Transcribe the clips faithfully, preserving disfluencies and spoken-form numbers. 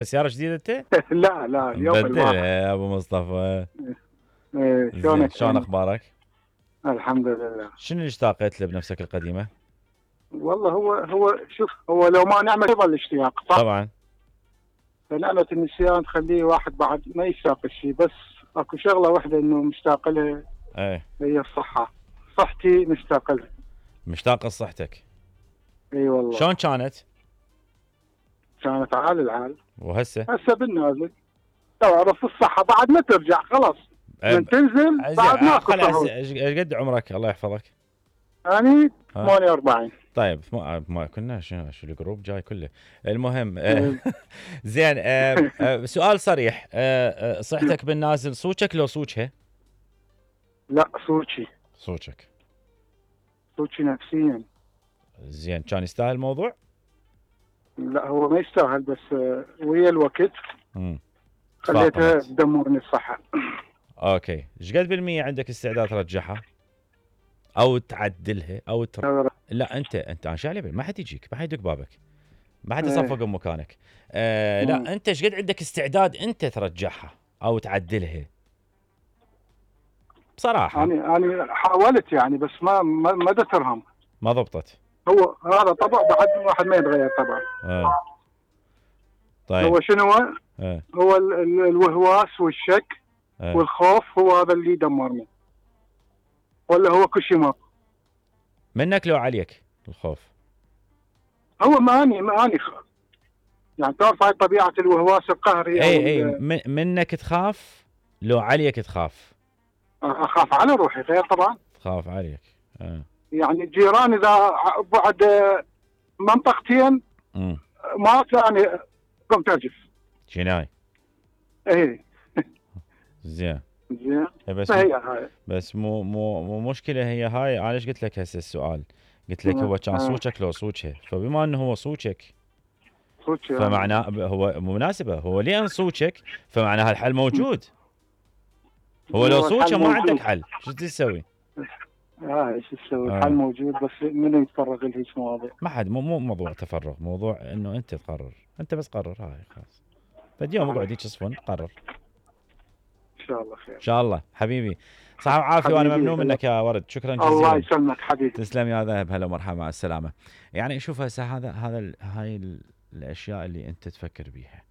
سيارة جديدة انت؟ لا لا اليوم مبدل الواحد. يا ابو مصطفى. إيه، شلونك؟ شلون اخبارك؟ الحمد لله. شنو اللي اشتاقت له بنفسك القديمة؟ والله هو هو شوف، هو لو ما نعمل يظل الاشتياق صح؟ طبعا. فنعمة النسيان تخليه واحد بعد ما يشتاق الشيء، بس اكو شغلة واحدة انه مشتاق لها. ايه. هي الصحة. صحتي مشتاق لها. مشتاق لصحتك. اي والله. شلون كانت؟ كانت عال العال. وهسه؟ هسه بالنازل. تعرف الصحة بعد ما ترجع خلاص. من تنزل بعد ماكو صحة. ايش قد عمرك الله يحفظك؟ يعني ثمانية وأربعين. طيب ما, ما كنا شنو شو الجروب جاي كله. المهم آه زين آه آه سؤال صريح، آه آه صحتك بالنازل صوتك لو صوتها؟ لا صوتي. صوتك. صوتي نفسيا. زين كان يستاهل الموضوع؟ لا هو ما يستاهل، بس آه ويا الوقت امم خليتها تدمرني الصحة. اوكي، ايش قد بالمية عندك استعداد ترجعها؟ او تعدلها او تر... لا انت انت انا شعلي ما حد يجيك، ما حد يدق بابك، ما حد يصفق مكانك. آه لا انت ايش قد عندك استعداد انت ترجعها او تعدلها؟ بصراحه انا انا حاولت يعني، بس ما ما, ما ترهم، ما ضبطت. هو هذا طبع بعد واحد ما يتغير طبعا. آه. طيب هو شنو هو؟ آه. هو ال ال الوهواس والشك آه. والخوف، هو هذا اللي يدمرني، ولا هو كل شيء ما منك لو عليك الخوف؟ هو ما اني ما اني خ... يعني تعرف هاي طبيعه الوهواس القهري. اي اي منك تخاف، لو عليك تخاف؟ اخاف على روحي غير طبعا. تخاف عليك. آه. يعني الجيران اذا بعد منطقتين م. ما يعني قمت ارجف. جناي. ايه. زين. زين. بس هي هاي. بس مو مو مو مشكله هي هاي. انا ايش قلت لك هسه السؤال؟ قلت لك هو كان صوتك لو صوتها، فبما انه هو صوتك صوتك فمعناه هو مناسبه، هو لان صوتك فمعناها الحل موجود. هو لو صوتك ما عندك حل، شو تسوي؟ اه ايش تسوي؟ الحل موجود، بس من يتفرغ لهيك مواضيع؟ ما حد. مو مو موضوع تفرغ، موضوع انه انت تقرر، انت بس قرر. هاي خلاص. فاليوم اقعد هيك صفن قرر. ان شاء الله خير. ان شاء الله حبيبي. صحة وعافية، وانا ممنون منك يا ورد، شكرا جزيلا. الله يسلمك حبيبي. تسلم يا ذهب، هلا ومرحبا، مع السلامة. يعني شوف هسه هذا هذا هاي الاشياء اللي انت تفكر بيها.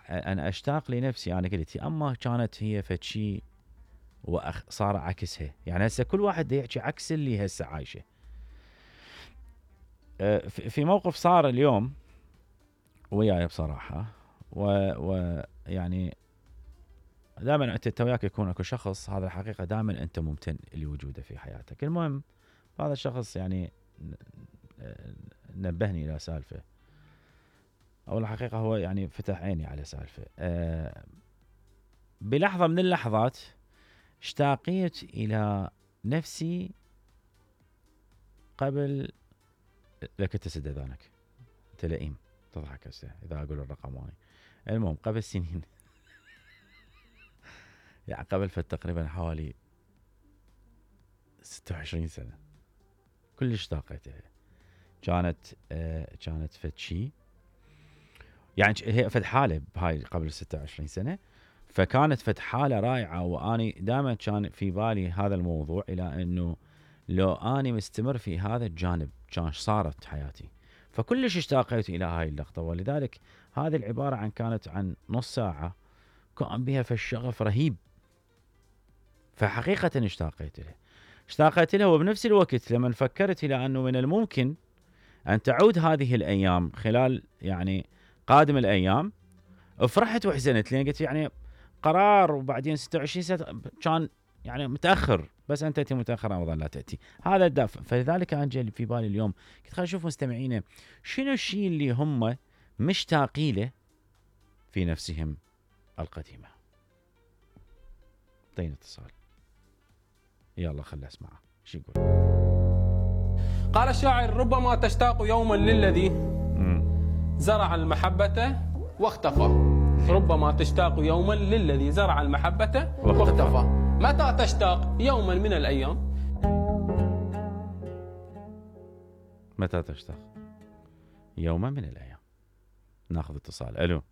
انا اشتاق لنفسي، انا قلت اما كانت هي فد شيء وصار عكسها. يعني هسه كل واحد يحكي عكس اللي هسه عايشه. في موقف صار اليوم وياي بصراحة، ويعني دائما انت وياك يكون اكو شخص، هذا الحقيقه دائما انت ممتن لوجوده في حياتك. المهم هذا الشخص يعني نبهني الى سالفه، او الحقيقه هو يعني فتح عيني على سالفه. أه بلحظه من اللحظات اشتاقيت الى نفسي قبل. لك تسد اذانك انت لئيم تضحك هسه اذا اقول الرقم هاي. المهم قبل سنين يعني قبل فتقريبا حوالي ستة وعشرين سنة كلش اشتاقيت لها. كانت آه كانت فد شي يعني هي فد حالة بهاي قبل ستة وعشرين سنة، فكانت فد حالة رائعة. واني دائما كان في بالي هذا الموضوع، الى انه لو اني مستمر في هذا الجانب كان صارت حياتي. فكلش اشتاقيت الى هاي اللقطة، ولذلك هذه العبارة عن كانت عن نص ساعة كان بها فالشغف رهيب. فحقيقة اشتاقيت له اشتاقيت له وبنفس الوقت لما فكرت إلى أنه من الممكن أن تعود هذه الأيام خلال يعني قادم الأيام، فرحت وحزنت، لأن قلت يعني قرار وبعدين ستة وعشرين سنة كان يعني متأخر، بس أنت تأتي متأخر أيضا لا تأتي. هذا الدافع. فلذلك أنا جاي في بالي اليوم قلت خلينا نشوف مستمعينا شنو الشيء اللي هم مشتاقين له في نفسهم القديمة. طين اتصال، يلا خلنا اسمعه شو يقول. قال الشاعر: ربما تشتاق يوما للذي زرع المحبة واختفى. ربما تشتاق يوما للذي زرع المحبة واختفى. متى تشتاق؟ يوما من الأيام. متى تشتاق؟ يوما من الأيام. ناخذ اتصال. الو